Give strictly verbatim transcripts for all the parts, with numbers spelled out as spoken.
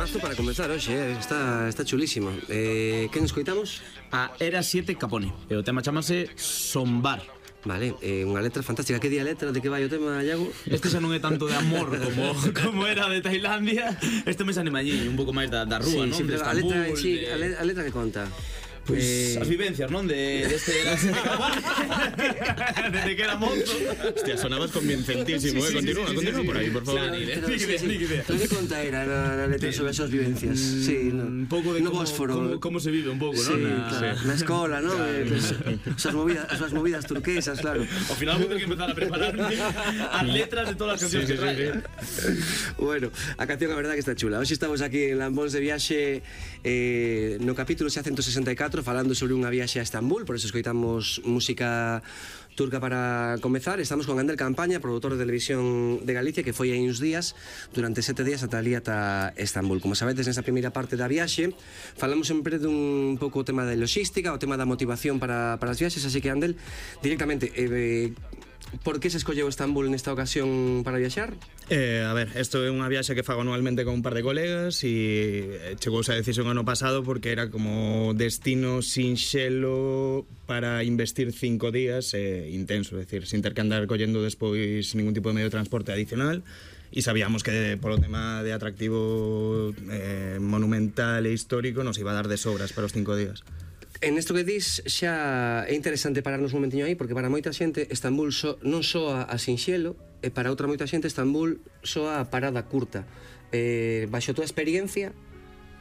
Temazo para comenzar hoxe, eh? está, está chulísimo. eh, Que nos coitamos? A Era siete Capone. E o tema chamase Sombar. Vale, eh, unha letra fantástica. Que di a letra? De que vai o tema, Iago? Este xa non é tanto de amor como, como era de Tailandia. Este me anima allí, un pouco máis da, da rúa, sí, non? Sí, De pero a letra, Estambul, sí, de... a, le, a letra que conta? Pois pues, eh... as vivencias, non? De, de este Era siete Capone. Desde que era mozo. Hostia, sonabas convincentísimo, sí, sí, eh? Continúa, sí, sí, continúa sí, por aí, por favor. Claro, Pero, sí, sí, sí. ni idea. Pero que conta era na, na letra sobre esas vivencias? Mm, Sí, no, un pouco de no como, Bósforo. como, como se vive un pouco, Sí, non? Na, claro, sí. na escola, non? Claro. Eh, pues, esas movidas, esas movidas turquesas, claro. Ao final vou ter que empezar a prepararme as letras de todas as cancións Sí, sí, que trae. sí, sí. Bueno, a canción a verdade que está chula. Hoxe estamos aquí en Lambóns de Viaxe, eh, no capítulo xa ciento sesenta e catro, falando sobre unha viaxe a Estambul. Por eso escoitamos música turca para comezar. Estamos con Andel Campaña, produtor de Televisión de Galicia, que foi aí uns días, durante sete días ata ali ata Estambul. Como sabedes, nesta primeira parte da viaxe falamos sempre dun pouco o tema de logística, o tema da motivación para, para as viaxes. Así que, Andel, directamente, eh, por que se escolleu Estambul nesta ocasión para viaxar? Eh, a ver, isto é unha viaxe que fago anualmente con un par de colegas e chegouse a decisión ano pasado porque era como destino sinxelo para investir cinco días eh, intenso, é dicir, sin ter que andar collendo despois ningún tipo de medio de transporte adicional, e sabíamos que polo tema de atractivo eh, monumental e histórico nos iba a dar de sobras para os cinco días. En isto que dis xa é interesante pararnos un momentiño aí, porque para moita xente Estambul so, non soa a sinxelo, e para outra moita xente Estambul soa a parada curta. eh, Baixo a tua experiencia,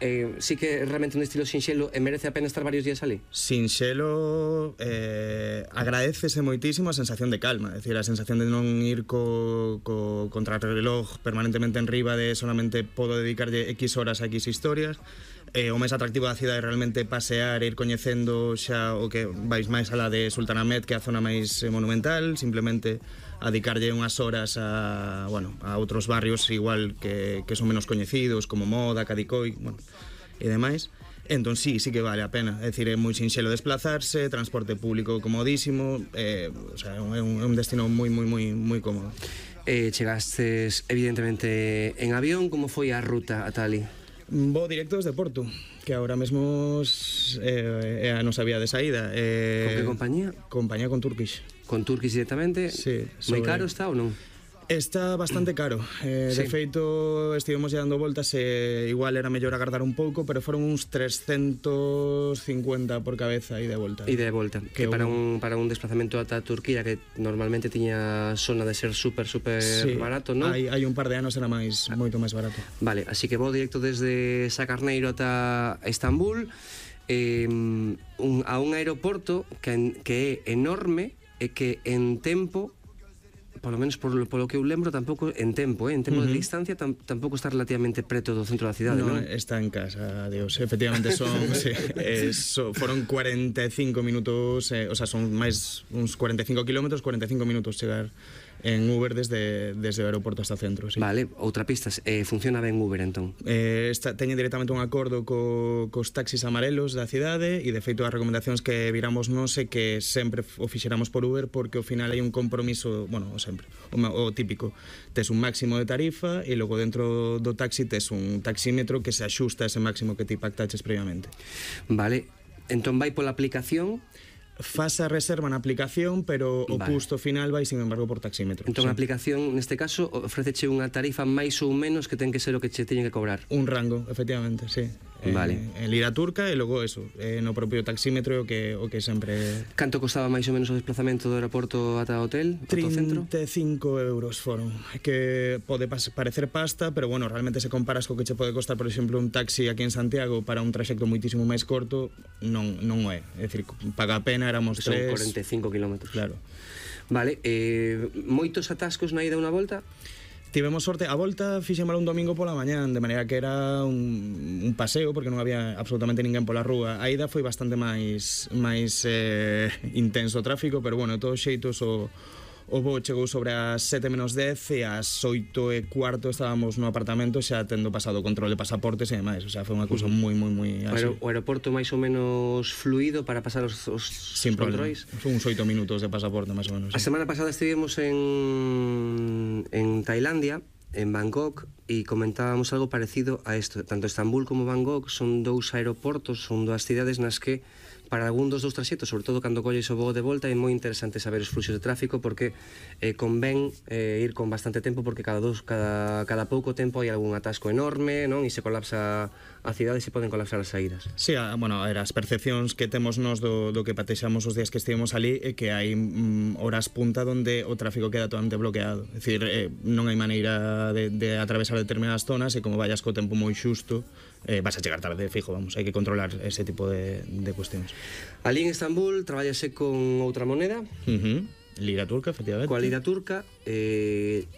eh, sí que é realmente un estilo sinxelo e merece a pena estar varios días ali? Sinxelo, eh, agradecese moitísimo a sensación de calma, é dicir, a sensación de non ir co, co contrarreloj permanentemente en riba de solamente podo dedicarlle X horas a X historias. Eh, o máis atractivo da cidade é realmente pasear e ir coñecendo xa o que vais máis alá de Sultanahmet, que é a zona máis eh, monumental, simplemente a dedicarlle unhas horas a, bueno, a outros barrios igual que, que son menos coñecidos, como Moda, Cadicoy, bueno, e demais. Entón sí, sí que vale a pena, é dicir, é moi sinxelo desplazarse, transporte público comodísimo, eh, o sea, é un, é un destino moi, moi, moi, moi cómodo. Eh, chegastes evidentemente en avión, como foi a ruta ata ali? Vou directo desde Porto, que agora mesmo eh, é a nosa vía de saída. Eh, Con que compañía? Compañía con Turkish. Con Turkish directamente? Sí. Moi sobre... caro está ou non? Está bastante caro. Eh, Sí. De feito, estivemos dando voltas e igual era mellor agardar un pouco, pero foron uns trescentos cincuenta por cabeza e de volta. E de volta, que, Que para un un- para un desplazamento ata Turquía, que normalmente tiña sona de ser super super Sí, barato, non? hai, hai un par de anos era máis moito máis barato. Vale, así que vou directo desde Sacarneiro ata Estambul, eh, un, a un aeroporto que, en- que é enorme e que en tempo, polo menos por, polo que eu lembro, tampouco en tempo, eh, en tempo uh -huh. de distancia, tam, tampouco está relativamente preto do centro da cidade, No, non? está en casa, Dios. Efectivamente son, sí, eh, so, foron cuarenta e cinco minutos, eh, o sea, son máis uns cuarenta e cinco kilómetros, cuarenta e cinco minutos chegar en Uber desde, desde o aeroporto hasta o centro, sí. Vale, outra pista, eh, funciona ben Uber, entón? Eh, está, teñen directamente un acordo co, cos taxis amarelos da cidade, e de feito as recomendacións que viramos non sé que sempre o fixeramos por Uber, porque ao final hai un compromiso, bueno, sempre, o, o típico, tes un máximo de tarifa e logo dentro do taxi tes un taxímetro que se axusta a ese máximo que te pactaches previamente. Vale, entón vai pola aplicación. Faz a reserva na aplicación, pero o Vale. custo final vai, sin embargo, por taxímetro. Entón a Sí. aplicación, neste caso, ofréceche unha tarifa máis ou menos que ten que ser o que che teñen que cobrar. Un rango, efectivamente, sí. Vale. Eh, en lira turca e logo eso, eh, no propio taxímetro o que o que sempre Canto costaba máis ou menos o desplazamento do aeroporto ata o hotel, ata o centro? trinta e cinco euros foron, que pode pas- parecer pasta, pero bueno, realmente se comparas co que che pode costar, por exemplo, un taxi aquí en Santiago para un traxecto moitísimo máis corto, non non o é. É dicir, paga a pena, éramos Son tres. cuarenta e cinco kilómetros. Claro. Vale, eh, moitos atascos na ida e unha volta? Tivemos sorte, a volta fixémola un domingo pola mañán, de maneira que era un, un paseo, porque non había absolutamente ninguén pola rúa. A ida foi bastante máis máis eh, intenso o tráfico, pero bueno, de todos xeitos o o voo chegou sobre as sete menos dez e ás oito e cuarto estábamos no apartamento xa tendo pasado o control de pasaportes e demais, o sea, foi unha cousa moi moi moi O, aer o aeroporto máis ou menos fluido para pasar os, os sin problema. controis? Foi uns oito minutos de pasaporte máis ou menos. A Sí. semana pasada estivemos en en Tailandia en Bangkok, e comentábamos algo parecido a isto. Tanto Estambul como Bangkok son dous aeroportos, son dúas cidades nas que para algún dos dous traxectos, sobre todo cando colles o voo de volta, é moi interesante saber os fluxos de tráfico porque eh, convén eh, ir con bastante tempo porque cada, dos, cada, cada pouco tempo hai algún atasco enorme, non? E se colapsa a cidade e se poden colapsar as saídas. Sí, a, bueno, a ver, as percepcións que temos nos do, do que patexamos os días que estivemos ali é que hai mm, horas punta onde o tráfico queda totalmente bloqueado. É dicir, eh, non hai maneira de, de atravesar determinadas zonas e como vayas co tempo moi xusto, eh, vas a chegar tarde, fijo, vamos, hai que controlar ese tipo de, de cuestións. Ali en Estambul traballase con outra moneda, Uh-huh. Lira turca, efectivamente. coa lira turca, eh,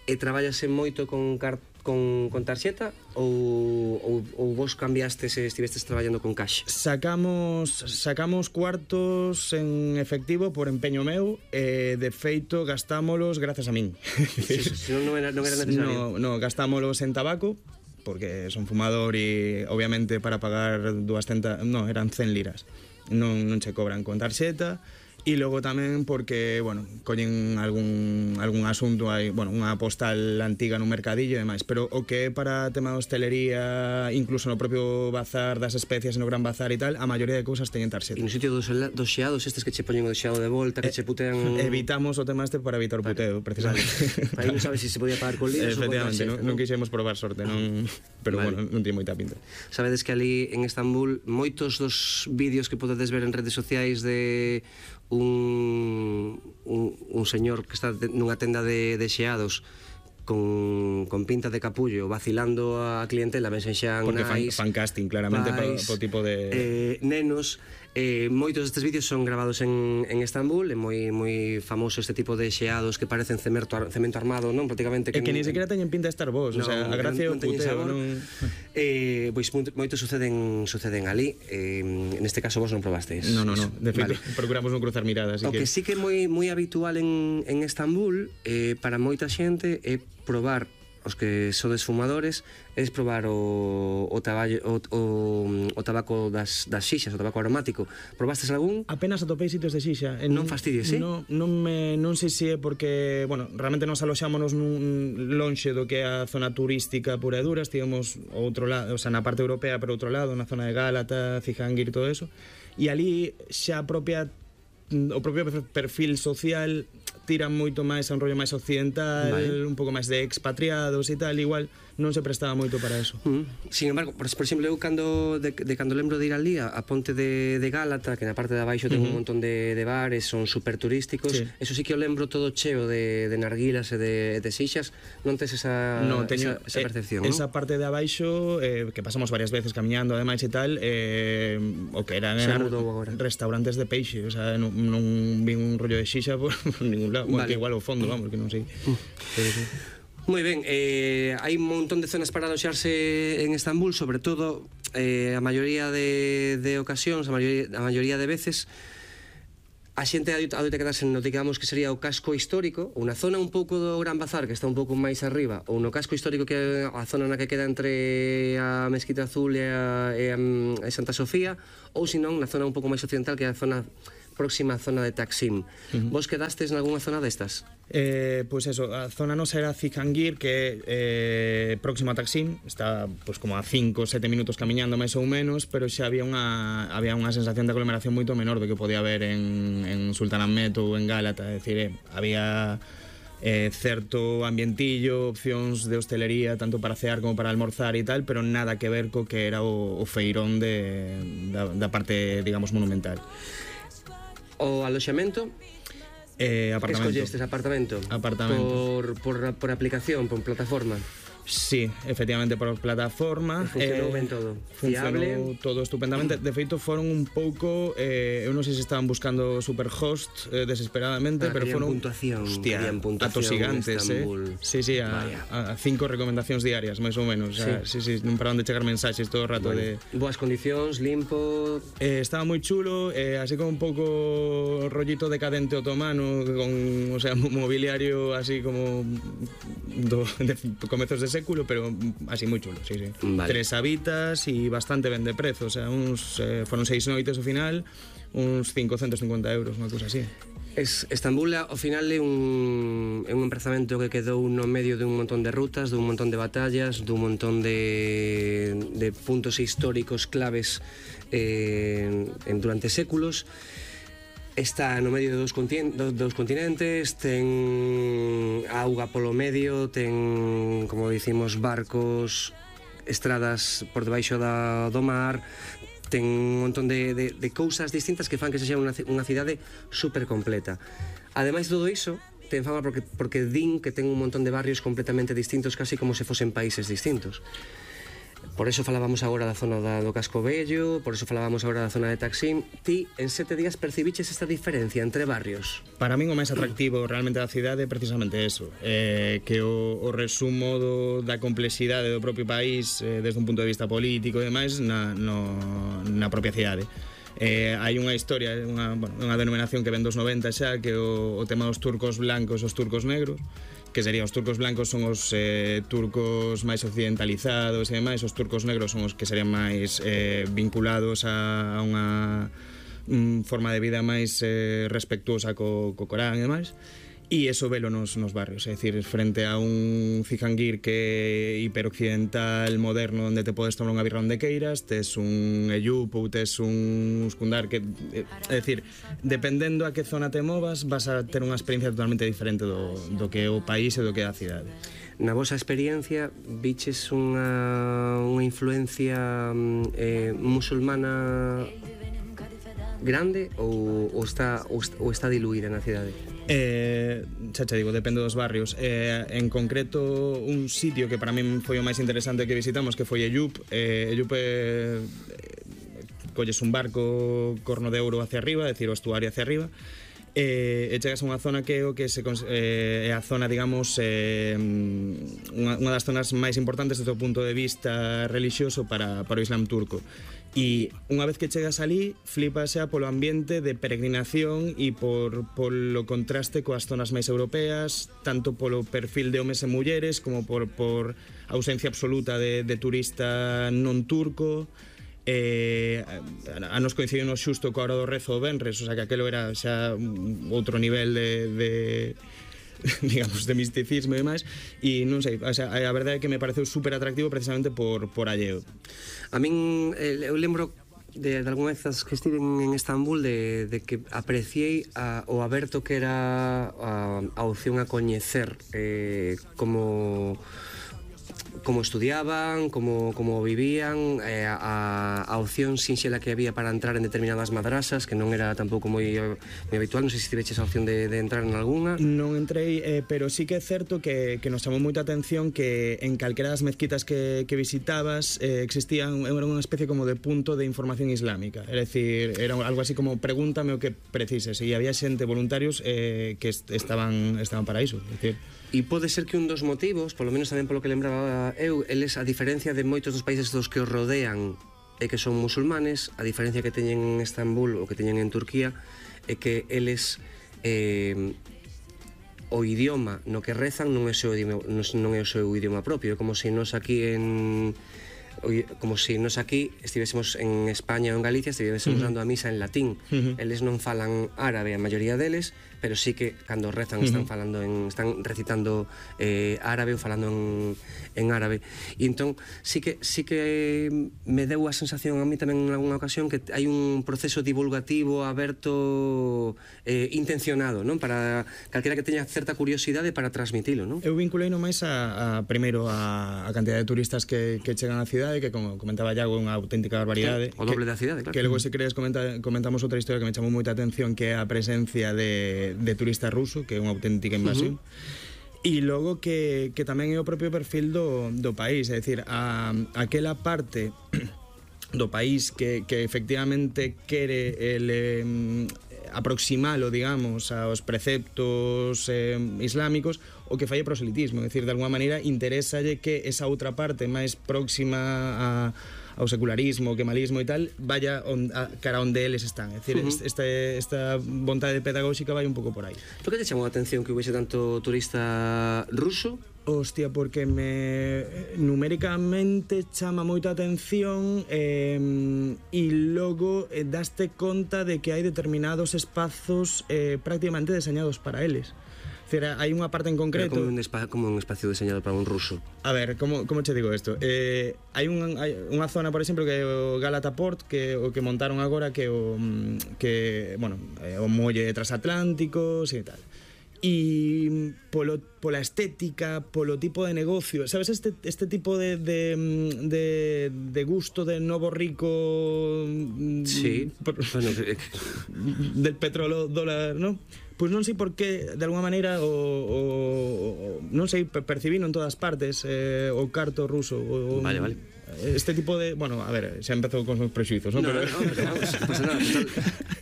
e traballase moito con car con, con tarxeta ou, ou, ou vos cambiastes e estivestes traballando con cash? Sacamos sacamos cuartos en efectivo por empeño meu e de feito gastámolos grazas a min. Si, si non, non era, non era necesario. No, no, gastámolos en tabaco porque son fumador e obviamente para pagar doscientas, no, eran cen liras. Non, non che cobran con tarxeta. E logo tamén porque, bueno, collen algún, algún asunto aí, bueno, unha postal antiga no mercadillo e demais, pero o que é para tema de hostelería, incluso no propio bazar das especias, no gran bazar e tal, a maioría de cousas teñen tarxeta. E no sitio dos, dos xeados, estes que che poñen o xeado de volta, que che putean... Evitamos o tema este para evitar o puteo, precisamente. Aí non sabes se se podía pagar con liras ou con Efectivamente, tarxeta, non, non quixemos probar sorte, non, pero Vale. bueno, non tiene moita pinta. Sabedes que ali en Estambul moitos dos vídeos que podedes ver en redes sociais de un, un, un señor que está nunha tenda de, de xeados con, con pinta de capullo vacilando a clientela, ben xan Porque fan, nais, fan casting claramente pais, po, po tipo de... eh, nenos. Eh, moitos destes vídeos son grabados en, en Estambul, é moi moi famoso este tipo de xeados que parecen cemento, cemento armado, non? Prácticamente que, que ni sequera teñen pinta de estar vos, no, o sea, a gracia é o puteo, non... Eh, pois moitos suceden suceden ali, eh, neste caso vos non probastes. No, no, no, de feito, vale. procuramos non cruzar miradas. O que, que sí que é moi moi habitual en, en Estambul, eh, para moita xente, é probar os que sodes fumadores, es probar o, o, taballo, o, o, o tabaco das, das xixas, o tabaco aromático. Probastes algún? Apenas atopei sitios de xixa. Non fastidies, sí? Non, non, me, non sei se é porque, bueno, realmente nos aloxámonos nun lonxe do que é a zona turística pura e dura, estivemos outro lado, o sea, na parte europea, pero outro lado, na zona de Gálata, Cihangir e todo eso, e ali xa a propia o propio perfil social tira moito máis a un rollo máis occidental, vale. Un pouco máis de expatriados e tal, igual non se prestaba moito para eso. Mm. Sin embargo, por, por exemplo, eu cando de, de cando lembro de ir ali a, a ponte de, de Gálata, que na parte de abaixo ten uh -huh. un montón de, de bares, son super turísticos, sí. Eso sí que eu lembro todo cheo de, de narguilas e de, de xixas, non tes esa, no, teño, esa, esa percepción, eh, non? Esa parte de abaixo, eh, que pasamos varias veces caminando ademais e tal, eh, o que eran, eran restaurantes de peixe, o sea, non, non vi un rollo de xixa por, por ningún lado, vale. Bueno, que igual ao fondo, vamos, que non sei. Uh. Pero, sí. Moi ben, eh, hai un montón de zonas para aloxarse en Estambul, sobre todo eh, a maioría de, de ocasións, a maioría, a maioría de veces a xente adoita quedarse no que digamos que sería o casco histórico, ou na zona un pouco do Gran Bazar que está un pouco máis arriba, ou no casco histórico que é a zona na que queda entre a Mesquita Azul e a, e a, a Santa Sofía, ou senón na zona un pouco máis occidental que é a zona próxima zona de Taksim. Uh-huh. Vos quedastes en algunha zona destas? Eh, pois pues eso, a zona nosa era Cihangir, que é eh, próximo a Taksim, está pues, como a cinco, sete minutos camiñando máis ou menos, pero xa había unha había unha sensación de aglomeración moito menor do que podía haber en, en Sultanahmet ou en Gálata, é dicir, eh, había eh, certo ambientillo, opcións de hostelería tanto para cear como para almorzar e tal, pero nada que ver co que era o, o feirón de, da, da parte, digamos, monumental. O aloxamento? Eh, apartamento. Que escollestes apartamento? Apartamento. Por, por, por aplicación, por plataforma? Sí, efectivamente, por plataforma. E funcionou eh, ben todo? Funcionou Fiable? todo estupendamente. De feito, foron un pouco... Eh, eu non sei se estaban buscando superhost eh, desesperadamente, ah, pero foron... puntuación, hostia, puntuación atosigantes, eh? Sí, sí, a, a cinco recomendacións diarias, máis ou menos. Sí, o sea, sí, sí, non paraban de chegar mensaxes todo o rato bueno. de... Boas condicións, limpo... Eh, estaba moi chulo, eh, así como un pouco rollito decadente otomano, con, o sea, mobiliario así como do, de comezos de século, pero así moi chulo, sí, sí. Vale. Tres habitas e bastante ben de prezo, o sea, uns, eh, foron seis noites ao final, uns cincocentos cincuenta euros, unha cousa así. Es, Estambul, ao final, é un, é un emprazamento que quedou no medio dun montón de rutas, dun montón de batallas, dun montón de, de puntos históricos claves eh, en, durante séculos. Está no medio de dos, continentes, dos continentes, ten auga polo medio, ten, como dicimos, barcos, estradas por debaixo da, do mar, ten un montón de, de, de cousas distintas que fan que sexa unha, unha cidade super completa. Ademais de todo iso, ten fama porque, porque din que ten un montón de barrios completamente distintos, casi como se fosen países distintos. Por eso falábamos agora da zona da, do Casco Vello, por eso falábamos agora da zona de Taksim. Ti, en sete días, percibiches esta diferencia entre barrios? Para min o máis atractivo realmente da cidade é precisamente eso, eh, que o, o resumo do, da complexidade do propio país eh, desde un punto de vista político e demais na, no, na propia cidade. Eh, hai unha historia, unha, bueno, unha denominación que ven dos noventa xa, que o, o tema dos turcos blancos e os turcos negros, que serían os turcos blancos son os eh, turcos máis occidentalizados e demais, os turcos negros son os que serían máis eh, vinculados a, a unha mm, forma de vida máis eh, respectuosa co, co Corán e demais. E eso velo nos, nos barrios, é dicir, frente a un Cizanguir que é hiperoccidental, moderno, onde te podes tomar unha birra onde queiras, tes un Eyup ou tes un Uskundar que, é dicir, dependendo a que zona te movas, vas a ter unha experiencia totalmente diferente do, do que é o país e do que é a cidade. Na vosa experiencia, viches unha, unha influencia eh, musulmana grande ou, ou, está, ou, ou está diluída na cidade? Eh, xa che digo, depende dos barrios. Eh, en concreto, un sitio que para min foi o máis interesante que visitamos, que foi Eyup. Eh, Eyup eh, colles un barco Corno de Ouro hacia arriba, é dicir, o estuario hacia arriba, e, e chegas a unha zona que é o que se, eh, é a zona, digamos, eh, unha, unha das zonas máis importantes desde o punto de vista religioso para, para o Islam turco. E unha vez que chegas ali, flipas xa polo ambiente de peregrinación e por, polo contraste coas zonas máis europeas, tanto polo perfil de homes e mulleres como por, por ausencia absoluta de, de turista non turco. Eh, a nos coincidirnos xusto coa hora do rezo o venres, o sea que aquelo era xa outro nivel de, de digamos, de misticismo e demais, e non sei, o sea, a verdade é que me pareceu super atractivo precisamente por, por alleo. A min, eu lembro de, de algunha vez que estive en Estambul de, de que apreciei a, o aberto que era a, a opción a coñecer eh, como como estudiaban, como, como vivían, eh, a, a opción sinxela que había para entrar en determinadas madrasas, que non era tampouco moi, moi habitual. Non sei se tiveches a opción de, de entrar en alguna. Non entrei, eh, pero sí que é certo que, que nos chamou moita atención que en calquera das mezquitas que, que visitabas eh, existían, era unha especie como de punto de información islámica, é dicir, era algo así como pregúntame o que precises, e había xente, voluntarios eh, que est estaban, estaban para iso, é dicir. E pode ser que un dos motivos, polo menos tamén polo que lembraba eu, eles, a diferencia de moitos dos países dos que os rodean e que son musulmanes, a diferencia que teñen en Estambul ou que teñen en Turquía é que eles eh, o idioma no que rezan non é o seu idioma, non é o seu idioma propio, é como se nos aquí en como se nos aquí estivésemos en España ou en Galicia estivésemos uh-huh. dando a misa en latín. Uh-huh. Eles non falan árabe, a maioría deles, pero sí que cando rezan están uh-huh. falando en, están recitando eh, árabe ou falando en, en árabe. E entón sí que sí que me deu a sensación a mí tamén en algunha ocasión que hai un proceso divulgativo aberto eh, intencionado, non? Para calquera que teña certa curiosidade para transmitilo, non? Eu vinculei no máis a, a primeiro a, a cantidad de turistas que, que chegan á cidade, que como comentaba Iago, unha auténtica barbaridade. O doble da cidade, claro. Que logo, se queres, comenta, comentamos outra historia que me chamou moita atención, que é a presencia de de turista ruso, que é unha auténtica invasión. Uh-huh. E logo que, que tamén é o propio perfil do, do país, é dicir, a, aquela parte do país que, que efectivamente quere el, eh, aproximalo, digamos, aos preceptos eh, islámicos, o que fai é proselitismo, é dicir, de alguma maneira interesalle que esa outra parte máis próxima a ao secularismo, quemalismo e tal, vaya on, a, cara onde eles están. É dicir, uh-huh. este, esta vontade pedagóxica vai un pouco por aí. Por que te chamou a atención que hubiese tanto turista ruso Hostia, porque me numéricamente chama moita atención eh, e logo eh, daste conta de que hai determinados espazos eh, prácticamente deseñados para eles. Cera, hai unha parte en concreto... Pero como un, espa como un espacio diseñado para un ruso. A ver, como, como che digo isto? Eh, hai, un, hai unha zona, por exemplo, que é o Galata Port, que o que montaron agora, que o que, bueno, é o molle transatlánticos e tal. E polo, pola estética, polo tipo de negocio, sabes, este, este tipo de, de, de, de gusto de novo rico... Sí, por, bueno, del petróleo dólar, non? Pois non sei por que, de alguma maneira, o, o, o non sei, percibino en todas partes eh, o carto ruso. O, vale, vale. Este tipo de... Bueno, a ver, xa empezou con os prexuizos, non? No, pero... no, pero vamos, non pasa nada. Total,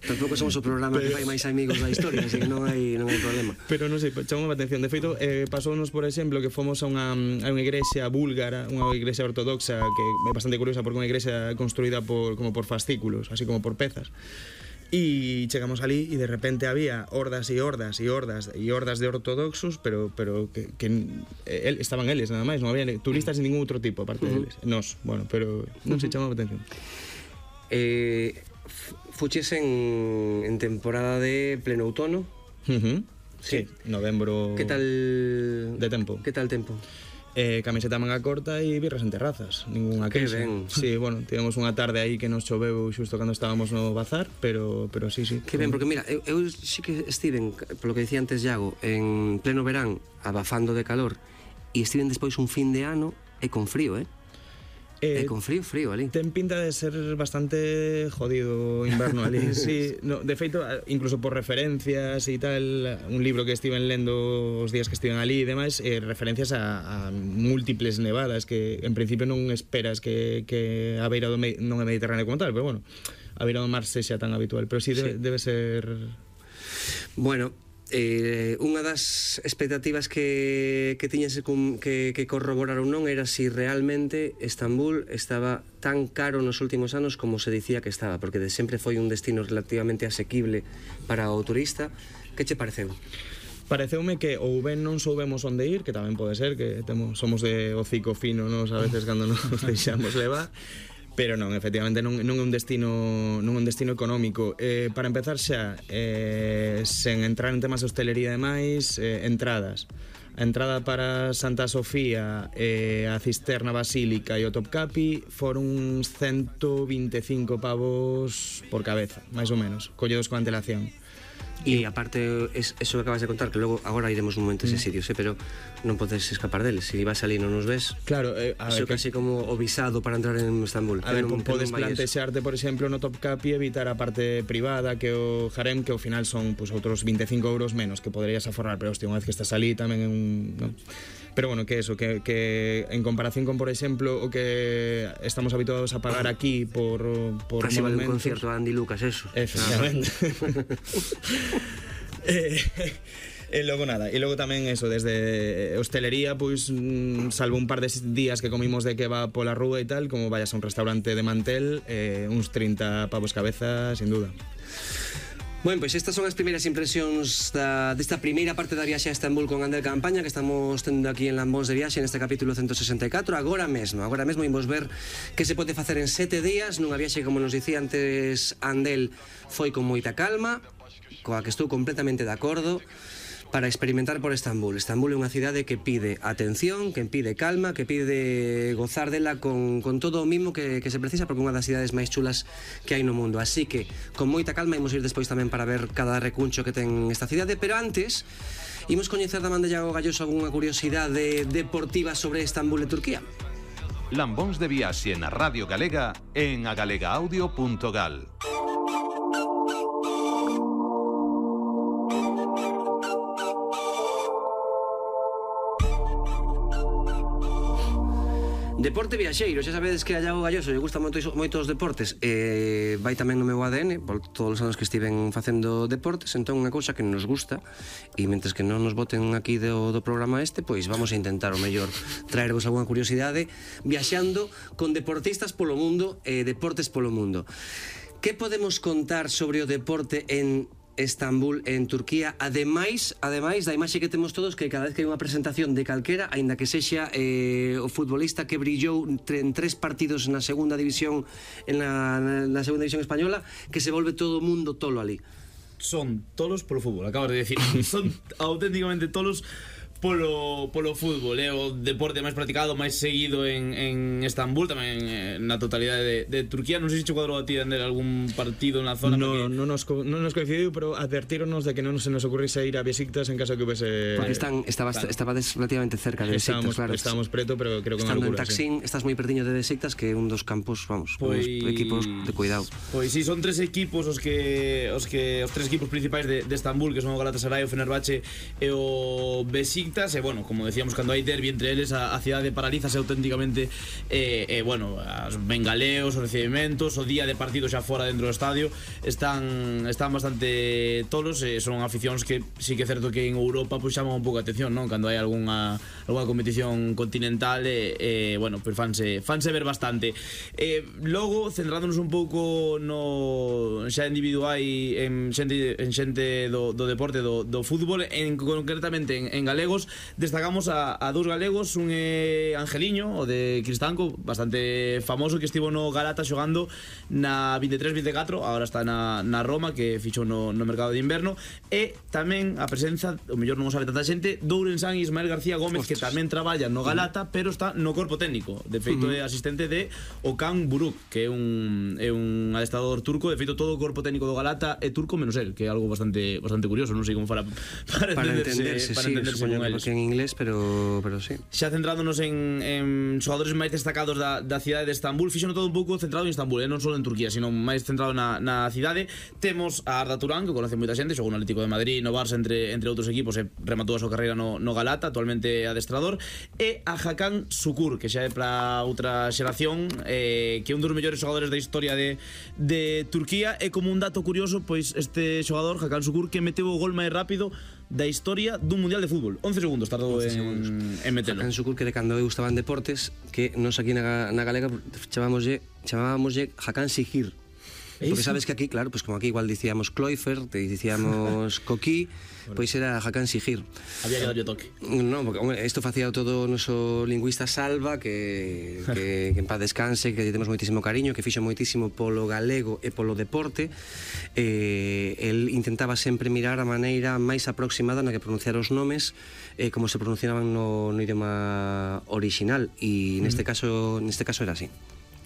tampouco somos o programa pero... que fai máis amigos da historia, así que non hai, non hai problema. Pero non sei, chamou a atención. De feito, eh, pasounos, por exemplo, que fomos a unha, a unha igrexa búlgara, unha igrexa ortodoxa, que é bastante curiosa porque é unha igrexa construída por, como por fascículos, así como por pezas. Y chegamos ali e de repente había hordas e hordas e hordas e hordas de ortodoxos, pero pero que, que el, estaban eles nada máis, non había turistas de ningún outro tipo aparte uh -huh. deles. Nos, bueno, pero non se chamaba a atención. Eh, fuches en, en temporada de pleno outono. Uh -huh. Sí, sí, novembro. Que tal de tempo? Que tal tempo? Eh, camiseta manga corta e birras en terrazas, ninguna queixa. Que ben. Sí, bueno, tivemos unha tarde aí que nos choveu xusto cando estábamos no bazar, pero pero sí, sí. Que ben, porque mira, eu, eu sí que estiven, polo que dicía antes Iago, en pleno verán, abafando de calor, e estiven despois un fin de ano e con frío, eh? Eh, e con frío, frío ali. Ten pinta de ser bastante jodido o inverno ali. Sí, no, de feito, incluso por referencias e tal, un libro que estiven lendo os días que estiven ali e demais, eh, referencias a, a múltiples nevadas que en principio non esperas que, que a beira do me, non é Mediterráneo como tal, pero bueno, a beira do mar sexa tan habitual, pero sí, debe, sí. debe ser... Bueno, Eh, unha das expectativas que, que tiñas que, que corroboraron non era si realmente Estambul estaba tan caro nos últimos anos como se dicía que estaba, porque de sempre foi un destino relativamente asequible para o turista. Que che pareceu? Pareceume que ou ben non soubemos onde ir, que tamén pode ser, que temos, somos de hocico fino nos a veces cando nos deixamos levar. Pero non, efectivamente non, non é un destino non é un destino económico. Eh, para empezar xa, eh, sen entrar en temas de hostelería e demais, eh, entradas. A entrada para Santa Sofía, eh, a Cisterna Basílica e o Topkapi foron uns ciento vinte e cinco pavos por cabeza, máis ou menos, colledos con antelación. E aparte, es, eso que acabas de contar, que logo agora iremos un momento a ese sitio, eh, pero non podes escapar deles. Se si vas ali non nos ves, claro, eh, a eso ver, casi que... como o visado para entrar en Estambul. A ver, non, podes plantexarte, por exemplo, no Topkapi evitar a parte privada, que o harem, que ao final son pues, outros vinte e cinco euros menos que poderías aforrar, pero hostia, unha vez que estás ali tamén é un... ¿no? Pero bueno, que eso, que, que en comparación con, por exemplo, o que estamos habituados a pagar aquí por, por casi monumentos... vale un concierto a Andy Lucas, eso. Efectivamente. eh, e logo nada, e logo tamén eso, desde hostelería, pois, salvo un par de días que comimos de que va pola rúa e tal, como vayas a un restaurante de mantel, eh, uns trinta pavos cabeza, sin duda. Bueno, pois estas son as primeiras impresións da, desta primeira parte da viaxe a Estambul con Andel Campaña que estamos tendo aquí en Lambóns de Viaxe neste capítulo ciento sesenta e catro. Agora mesmo, agora mesmo imos ver que se pode facer en sete días nunha viaxe, como nos dicía antes Andel, foi con moita calma, coa que estou completamente de acordo, para experimentar por Estambul. Estambul é unha cidade que pide atención, que pide calma, que pide gozar dela con, con todo o mimo que, que se precisa, porque é unha das cidades máis chulas que hai no mundo. Así que, con moita calma, imos ir despois tamén para ver cada recuncho que ten esta cidade, pero antes, imos coñecer da man de Iago Galloso algunha curiosidade deportiva sobre Estambul e Turquía. Lambóns de Viaxe na Radio Galega en agalega-audio punto gal. Deporte viaxeiro, xa sabedes que a Iago Galloso lle gusta moitos, moitos deportes, eh, vai tamén no meu A D N por todos os anos que estiven facendo deportes, entón unha cousa que nos gusta, e mentres que non nos boten aquí do, do programa este, pois vamos a intentar o mellor traervos algunha curiosidade viaxando con deportistas polo mundo e eh, deportes polo mundo. Que podemos contar sobre o deporte en Estambul en Turquía. Ademais, ademais da imaxe que temos todos, que cada vez que hai unha presentación de calquera, aínda que sexa eh, o futbolista que brillou en tres partidos na segunda división en la, na segunda división española, que se volve todo o mundo tolo ali. Son tolos polo fútbol, acabas de decir. Son auténticamente tolos polo, polo fútbol, é eh? o deporte máis practicado, máis seguido en, en Estambul, tamén eh, na totalidade de, de Turquía. Non sei se che cuadrou a ti de algún partido na zona. No, porque... non nos, non nos coincidiu, pero advertíronos de que non se nos ocurrise ir a Besiktas en caso que hubese... Porque están, estaba, claro. estabades relativamente cerca de Besiktas, estábamos, claro. Estábamos preto, pero creo que estando unha locura, en Taksim, sí. Estás moi perdiño de Besiktas, que é un dos campos, vamos, Pois... uns equipos de cuidado. Pois si, sí, son tres equipos os que os que os tres equipos principais de, de Estambul, que son o Galatasaray, o Fenerbahce e o Besiktas, e bueno, como decíamos, cando hai derbi entre eles, a, a cidade paralízase auténticamente, e eh, eh, bueno, os bengaleos, os recibimentos, o día de partido xa fora dentro do estadio están están bastante tolos, e son aficións que sí que é certo que en Europa pois chaman un pouco a atención, non? Cando hai algunha algunha competición continental, e eh, bueno, pois fanse fanse ver bastante. Eh, logo, centrándonos un pouco no xa individual en xente en xente do, do deporte do, do fútbol, en concretamente en, en galegos, destacamos a, a dous galegos. Un é Angeliño, o de Cristanco, bastante famoso, que estivo no Galata xogando na veintitrés veinticuatro, agora está na, na Roma, que fichou no, no mercado de inverno. E tamén a presenza, o mellor non o sabe tanta xente, Dourensán Ismael García Gómez, Ostras. que tamén traballa no Galata, pero está no corpo técnico. De feito, uh-huh. é asistente de Okan Buruk, que é un, é un adestrador turco. De feito, todo o corpo técnico do Galata é turco menos el, que é algo bastante bastante curioso. Non sei como para para, para entenderse, entenderse, para sí, entenderse con eles. En inglés, pero, pero sí. Xa centrándonos en, en xogadores máis destacados da, da cidade de Estambul, fixono todo un pouco centrado en Estambul, eh? non só en Turquía, sino máis centrado na, na cidade. Temos a Arda Turán, que conoce moita xente, xogou no Atlético de Madrid, no Barça, entre, entre outros equipos, e rematou a súa carreira no, no Galata, actualmente adestrador. E a Hakan Şükür, que xa é para outra xeración, eh, que é un dos mellores xogadores da historia de, de Turquía. E como un dato curioso, pois este xogador, Hakan Şükür, que meteu o gol máis rápido da historia dun mundial de fútbol. once segundos tardou en, en metelo. Hakan Şükür, que de cando eu estaba en deportes, que nos aquí na, na galega chamámoslle chamábamoslle Hakan Şükür. Porque sabes que aquí, claro, pues como aquí igual dicíamos Cloifer, te dicíamos Coquí, pois pues era Hakan Şükür. Había que darlle toque. No, porque hombre, isto facía todo o noso lingüista Salva, que, que, que en paz descanse, que temos moitísimo cariño, que fixo moitísimo polo galego e polo deporte. Eh, el intentaba sempre mirar a maneira máis aproximada na que pronunciar os nomes, eh, como se pronunciaban no, no idioma original, e neste caso, neste caso era así.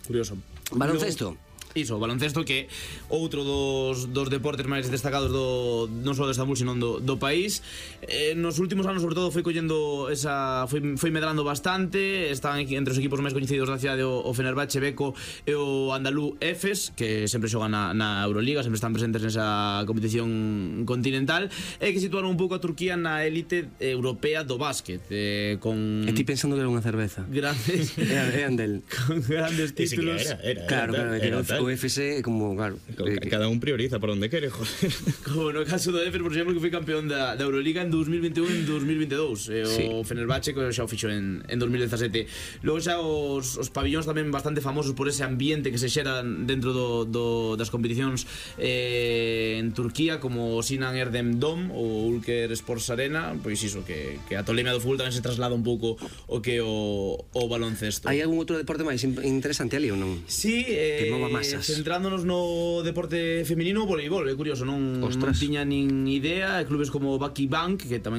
Curioso. Baloncesto. Iso, baloncesto, que outro dos, dos deportes máis destacados do, non só de Estambul, sino do, do país. Eh, nos últimos anos, sobre todo, foi collendo esa, foi, foi medrando bastante. Están entre os equipos máis coñecidos da cidade o, o Fenerbahce, Beko e o Andalú Efes, que sempre xogan na, na Euroliga, sempre están presentes nesa competición continental, e que situaron un pouco a Turquía na élite europea do básquet, eh, con... E ti pensando que era unha cerveza. Grandes... Eran del. Con grandes títulos. Era, era, era, claro, claro, era, era, era, o F S, como, claro, eh, cada un prioriza por onde quere, joder. Como no caso do Efes, por exemplo, que foi campeón da, da Euroliga en dos mil veintiún e en dos mil veintidous, e o sí. Fenerbahce, que xa o fixo en, en dos mil dezasete. Logo xa os, os pabillóns tamén bastante famosos por ese ambiente que se xera dentro do, do, das competicións eh, en Turquía, como o Sinan Erdem Dome ou Ülker Sports Arena. Pois iso, que, que a tolemia do fútbol tamén se traslada un pouco o que o, o baloncesto. Hai algún outro deporte máis interesante ali ou non? Sí, eh, que mova masas. Centrándonos no deporte feminino, o voleibol, é curioso, non, non tiña nin idea. Clubes como Baki Bank, que tamén